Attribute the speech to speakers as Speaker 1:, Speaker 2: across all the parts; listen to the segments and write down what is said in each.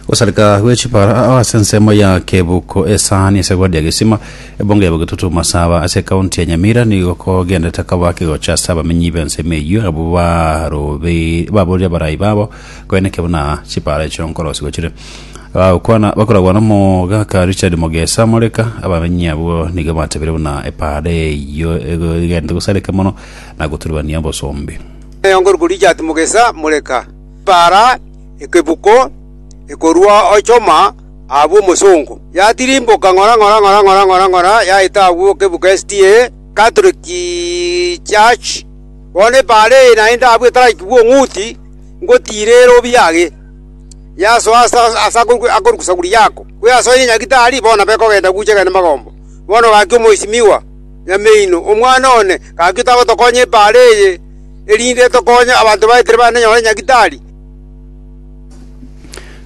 Speaker 1: Gosareka gwe chipara ase ensemo ya Kebuko esani ase ward ya Gesima ebunge ya Bogetutu Masaba ase ekaunti ya Nyamira nigo kogenderete koba kegocha ase abamenyi b'ensemo eyio abwo barobe baborire abarai babo koeneke buna chipara echio nkorosigwa chire. Bagokwana bakoragwa nomogaka Richard Mogesa Moreka abamenyi abwo nigo batebire buna epara eyio egenderete gosareka mono na goturubania obosombi.
Speaker 2: Nkorokwa Richard Mogesa Moreka, epara ekebuko ekorua Ochoma abwo omosongo, yatirimboka ng'ora ng'ora ng'ora ng'ora ng'ora ng'ora yaeta agwo kebuko SDA Catholic Church. Bono epaara eye naende abwo etaraikigwa ong'uti, ngotiira ere obiage, yasoa ase ase akorokwa Saguri yako. Koyasoire Nyagitari, bono nabo ekogenda gocha egende magombo. Bono gaki omoisimigwa Nyameino, omwana one, gaki otagotokonya epaara eye, erinde etokonye abanto baetere banenyore Nyagitari.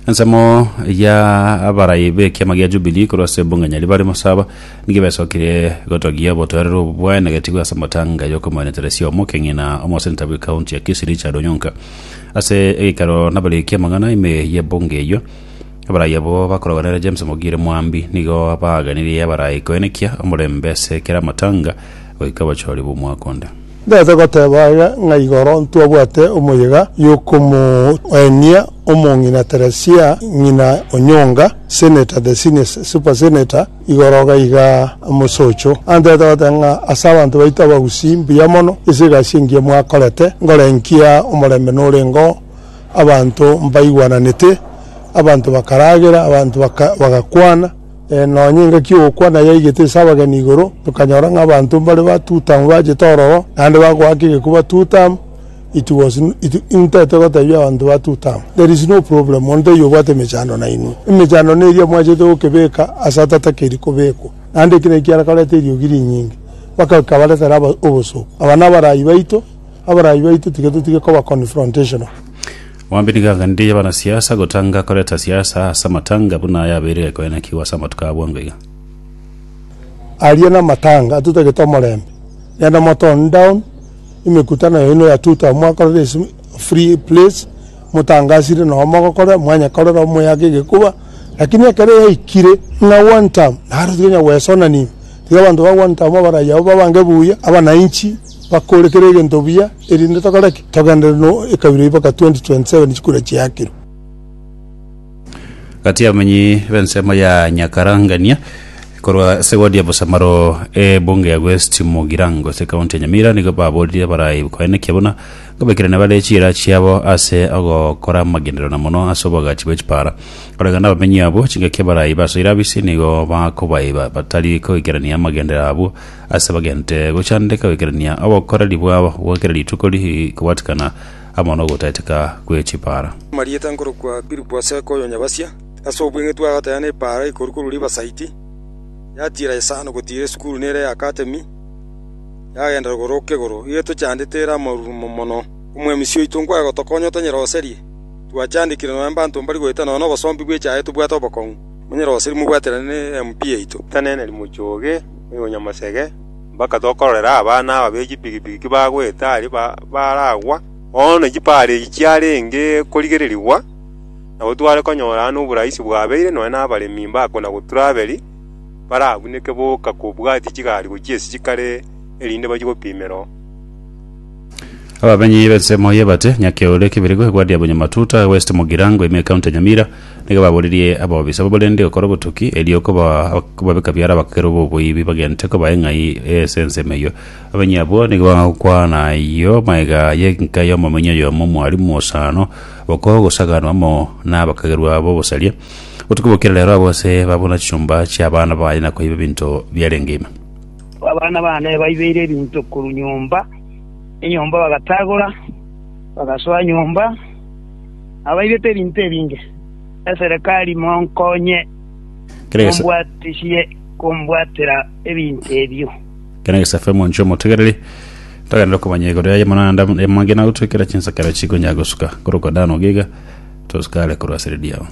Speaker 1: Ensemo ya abarai b'ekiama gia Jubilee korwa ase ebunge Nyaribari Masaba nigo besokire gotogia obotoereru obo bwaenegetigwe ase amatanga y'okomoeneteresia omokeng'i na omoseneta bw'ecounty ya Kisii Richard Onyonka. Ase egekero nabariki amang'ana ime y'ebunge eyio, abarai abwo bakoragwa nere James Mogire Mwambi nigo baganirie abarai koenekia omorembe ase kera amatanga goika obochori bw'omwaka onde.
Speaker 3: Ntagete goteba iga ng'a igoro ntwabwate omoyega y'okomoenia omong'ina Teresia ng'ina Onyonga, Senator, the senior super senator, igoro iga iga mosocho. Antagete goteba ng'a ase abanto baito abagusii mbuya mono ase egasi engiya mwakorete, nkorenkia omorembe norenge oo, abanto mbaigwananete, abanto bakaragera, abanto bagakwana. Nonya engaki y'ogokwana yaigete ase abageni igoro, tokanyora ng'a abanto mbare ba Tutamu bachete ororo, naende bagoaka egekuba Tutamu, it was it intete gotebia abanto ba Tutamu, there is no problem, monto taiyo obwate emechando nainwe. Emechando neria mwachete gokebeka ase atatakeiri kobekwa, naende eki nakio kiarekoreta eriogi rinyinge, mpaka bikabaretera aba obosooku. Aba nabarai baito, abarai baito tiga totige koba confrontational.
Speaker 1: Mwambi nigo aganirie abanasiasa gotanga koreta siasa ase amatanga buna yabeire gekoenekigwa ase amatuko a bwango iga.
Speaker 3: Aria namatanga atotagete omorembe, genda mo tone down emekutano yaino ya tuta mwakorera ase free place, motangasire noo mogokora mwanyekorera omoyake egekuba, lakini ekero yaikire ng'a one term naro tiga onye gwesonania ime, tiga abanto ba one term abarai abwo babange buya, abananchi bakore kera egento buya. Erinde tokore ki? Togenderere no ekabira eyio mpaka 2027 chikura chiakirwe.
Speaker 1: Gati y'abamenyi b'ensemo ya Nyakarangania korwa ase ward ya Bosamaro ebunge ya West Mugirango ase ekaunti ya Nyamira nigo baboririe abarai koenekia buna nkobekerania bare chiira chiabo ase ogokora amagenderero na mono ase oboagachi bwe chipara. Koreng'ana n'abamenyi abwo chingaki abarai basoire abisi nigo bakobaiba batari koikerania amagenderero abwo Ase bagente gochandeka goikerania obokoreri bwabo bwa kera rituko rikobwatikana amo nogotaeteka gwe chipara.
Speaker 4: Amarieta nkorokwa Philip Aseka oyo Nyabasia, ase obweng'e twagoteba nepaara ekorwa korwa Riverside, yatiira isano gotiira esukuru nere ya Academy, yagenda rogoro kegoro. Igo etochandete ere amarurumo mono. Omwemisi oito nkwaye gotokonya otonyeroserie. Twachandekire nonya mbanto mbari goeta nonya nobosombi bw'echaye tobwate obokong'u. Monyeroserie mobwaterane ne MP yaito.
Speaker 5: Taneneri mochoge. Oyonyamosege, mpaka tokororera abana aba be chipigipigi kibagoeta aria baragwa. Bono chipara echi chiarenge korigererigwa, nabo tware konyora aa noboraisi bwabeire, nonya na abaremi mbakona goturaberi, barabuneke boka kobwatia chigari gochia ase chikare, erinde bachie gopimera oo.
Speaker 1: Abamenyi b'ensemo y'Ebate, Nyakeore, Kibirigo, Egwadi ya Bonyamatuta, West Mugirango, ime ekaunti ya Nyamira, Nigo baboririe abobisa b'oborende gokora obotuki, erio kobabeka biara abakerwa b'oboibi bagente kobaa eng'ai ase ensemo eyio. Abamenyi abwo nigo bagokwana ayio magega y'enka y'omomenyi oyomo omwalimu osano bokogosaganwa amo nabakagerwa b'obosaria. Botuko bokire rero abwo ase babuna chinyomba chi'abana baye na koiba ebinto biarenge ime.
Speaker 6: Abana baane baibeire ebinto korwa nyomba, enyomba bagatagora, bagasoa nyomba. Abaibete ebinto ebinge. Eserekari monkonye, mombwatisie kombwatera ebinto ebio.
Speaker 1: Kera egesafe omonche omotegereri togenderere komanya igoro yaye mono naende amange nagotwekera chinsakara chikonya gosuka korokwa Dan Ogiga tosuka are korwa ase redio yao.